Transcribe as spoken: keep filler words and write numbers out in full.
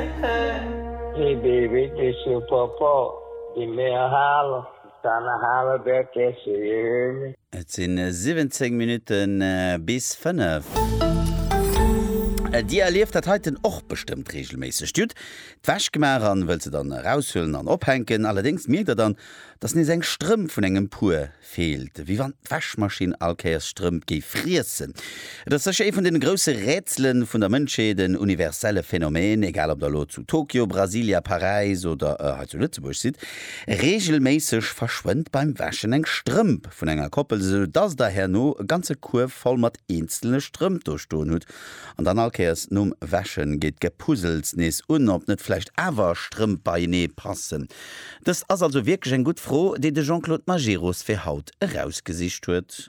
Hey baby, this your papa. Give me a holler. Trying to holler back at you, you hear me? Et sinn siwwenzéng Minutte bis fënnef. Dir erlieft dat heiten och bestëmmt reegelméisseg. Dir hutt d'Wäsch gemaach an wëllt se dann eraushuelen an ophänken. Allerdéngs mierkt der dann, dass nees eng Strëmp vun engem Puer feelt. Wéi wann d'Wäschmaschinn all Kéiers Strëmp géif friessen. Et ass sécher ee vun den grousse Rätselen vun der Mënschheet, en universelle Phänomen, egal ob der elo zu Tokio, Brasilia, Paräis oder hei zu Lëtzebuerg sidd. Reegelméisseg verschwënnt beim Wäschen eng Strëmp vun enger Koppel, esou dass der herno e ganze Kuerf voll mat eenzelne Strëmp do stoen hutt. An dann all Kéiers nom Wäschen geet d'Gepuzzels nees un, ob net vläicht awer Strëmp beienee passen. Dëst ass also wierklech eng gutt Fro, déi de Jean-Claude Majerus fir haut erausgesicht huet.